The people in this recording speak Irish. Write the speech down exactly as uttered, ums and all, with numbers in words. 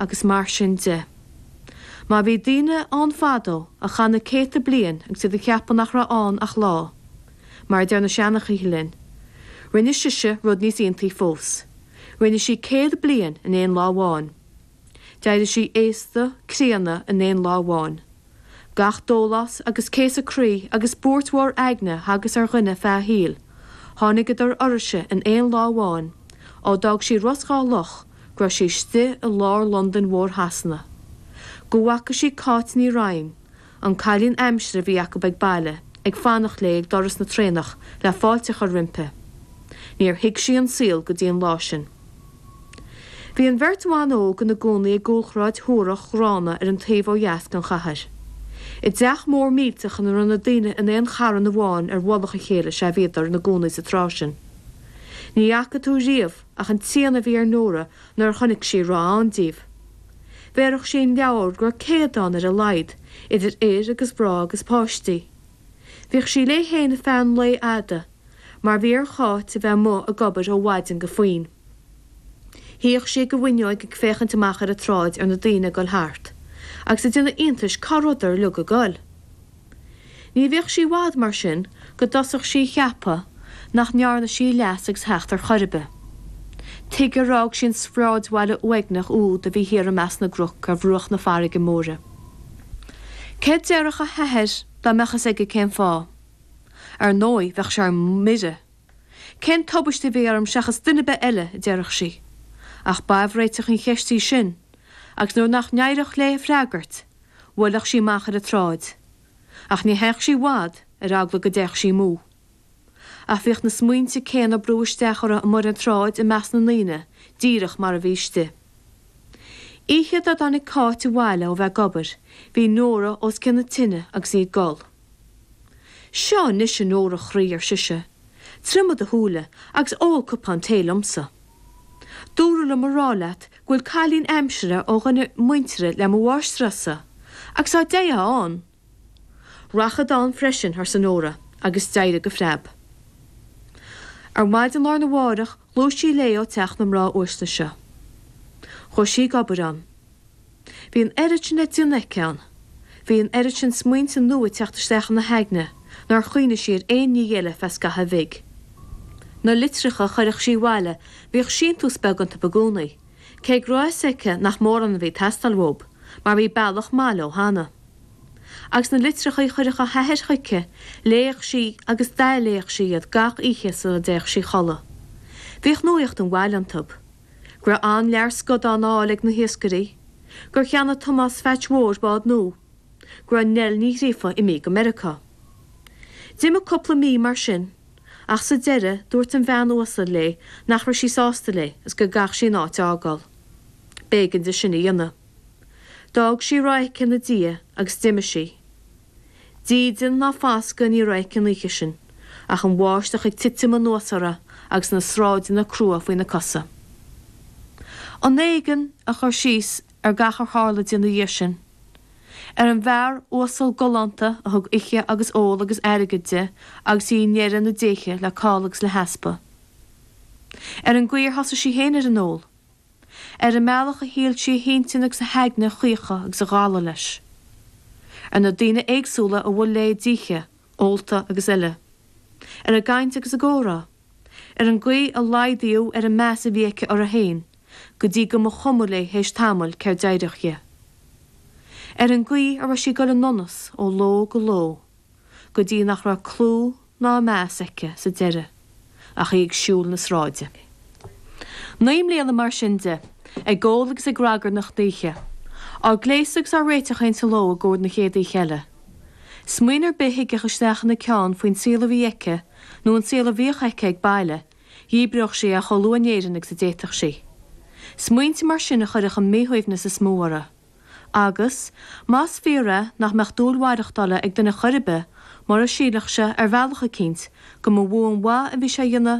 agus mar sin de. Má bhí daoine ann fadó a chaith na céadta bliain agus iad ag ceapadh nach raibh ann ach lá, mar a deir na seanchaithe linn. Rinne sise rud níos iontaí fós. Rinne sí céad bliain in aon lá amháin. D'éirigh sí aosta críonna in aon lá amháin. Gach dólás agus céasadh croí agus buairt mhór aigne a thagas ar dhuine feadh a shaoil, tháinigeadar uirthise in aon lá amháin, ó d'fhág sí Ros Dhá Loch go raibh sí istigh i lár Londain mhór Shasana. Go bhfaca sí Cáit Ní Rinn, an cailín aimsire a bhí acu ag baile, ag fanacht léi ag doras na traenach le fáilte a chur roimpi. Níor thuig sí an saol go dtí an lá sin. Bhí an bheirt bhan óg ina gcónaí i gcúlshráid shuarach ghránna ar an taobh ó dheas den chathair. I dteach mór millteach ina raibh na daoine in aon charn amháin ar mhullach a chéile is ea a bhíodar ina gcónaí sa tráth sin. Ní fhaca tú riamh ach an tsian a bhí ar Nóra nuair a chonaic sí a raibh ann díobh. Bhéarfadh sí an leabhar go raibh céad ann ar a laghad, idir fhir agus mhná agus páistí. Bhíodh sí léi féin ar feadh an lae fhada, mar bhí ar Cháit a bheith amuigh ag obair ó mhaidin go faoin. Shuíodh sí ag an bhfuinneog ag féachaint amach ar an tsráid ar na daoine ag dul thart, agus ag déanamh iontais cá rabhadar uilig ag dul. Ní bhíodh sí i bhfad mar sin go dtosódh sí a cheapadh nach ndearna sí leas agus theacht ar chor ar bith. Tuige ar fhág sí an sráidbhaile uaigneach úd a bhí thiar i measc na gcnoc ar bhruach na farraige móire. Céard déarfadh a hathair dá mbeadh fhios aige cén fáth? Ar ndóigh bheadh sé ar mire. Cén tubaiste a bhí orm seachas duine ar bith eile, a déarfadh sí. Ach b'aimhréiteach an cheist í sin, agus nuair nach n-éireodh léi freagairt, bhuailfeadh sí amach ar an tsráid. Ach ní théadh sí i bhfad ar eagla go dtéadh sí amú. Ach bhíodh na smaointe céanna ag brú isteach uirthi amuigh ar an tsráid i measc na ndaoine, díreach mar a bhí istigh. Oíche dá dtáinig Cáit abhaile ó bheith ag obair, bhí Nóra os cionn na tine agus í ag gol. Seo anois a Nóra chroí ar sise, triomaigh do shúile agus ól cupán tae liomsa. Dúradh liom a rá leat go bhfuil cailín aimsire ó dhuine muinteartha le mo mháistreás-sa, agus dá dtéifeá ann. Rachad ann freisin, arsa Nóra, agus d'éirigh go preab. Ar maidin lá arna mhárach ghluais sí léi ó teach na mná uaisle seo. Chuaigh sí ag obair ann. Bhí an oiread sin le déanamh aici ann. Bhí an oiread sin smaointe nua ag teacht isteach ina haigne nár chuimhnigh sí ar aon ní eile feadh scaithimh bhig. Na litreacha a chuireadh sí abhaile bhíodh síntiús beag iontu i gcónaí, cé go raibh fhios aici nach mórán a bhí ag teastáil uathu, mar bhí bealach maith leo cheana. Agus na litreacha a chuireadh a hathair chuici, léadh sí agus d'athléadh sí iad gach oíche sula dtéadh sí a chodladh. Bhíodh nuacht an bhaile iontu. Go raibh an-lear scadán á fháil ag na hiascairí, gur cheannaigh Tomás Pheaits Mhóir bád nua, go raibh Nell Ní Ghríofa imithe go Meiriceá. D'imigh cúpla mí mar sin, ach sa deireadh dúirt an bhean uasal léi nach raibh sí sásta léi is go gcaithfeadh sí an áit a fhágáil. B'éigean di sin a dhéanamh. D'fhág sí a raibh aici ina diaidh agus d'imigh sí. Dídean ná foscadh ní raibh aici an oíche sin, ach an bháisteach ag titim anuas uirthi agus na sráideanna crua faoina cosa. An éigean a chur síos ar gach ar tharla di ina dhiaidh sin. Ar an bhfear uasal galánta a thug ithe agus ól agus airgead di agus í i ndeireadh na déithe le call agus le heaspa. Ar an gcaoi ar thosaigh sí féin ar an ól. Ar an mbealach a shíl sí a hintinn agus a haigne a chaochadh agus a dhalladh leis. Ar na daoine éagsúla a bhuail léi d'oíche, ólta agus eile. Ar a gcaint agus a gcomhrá. Ar an gcaoi a laghdaíodh ar an meas a bhí aici uirthi féin, go dtí go mba chuma léi théis tamaill céard d'éireodh di. Ar an gcaoi a raibh sí ag dul i ndonas ó ló go ló, go dtí nach raibh clú ná meas aici sa deireadh, ach í ag siúl na sráide. Naoi mbliana mar sin de, ag ól agus ag ragairneach d'oíche, á gléasadh agus á réiteach féin sa ló i gcomhair na chéad oíche eile. Smaoineamh ar bith a thigeadh isteach ina ceann faoin saol a bhí aici nó an saol a bhíodh aici ag baile, dhíbreodh sí é chomh luath in Éirinn agus a d'fhéadfadh sí. Smaointe mar sin a chuirfeadh an míshuaimhneas is mó uirthi. Agus, más fíor é nach mbeadh dúil mhaireachtála ag duine chor ar bith mura sílfeadh sé ar bhealach eicínt go mba mhó an mhaith a bhí sé a dhéanamh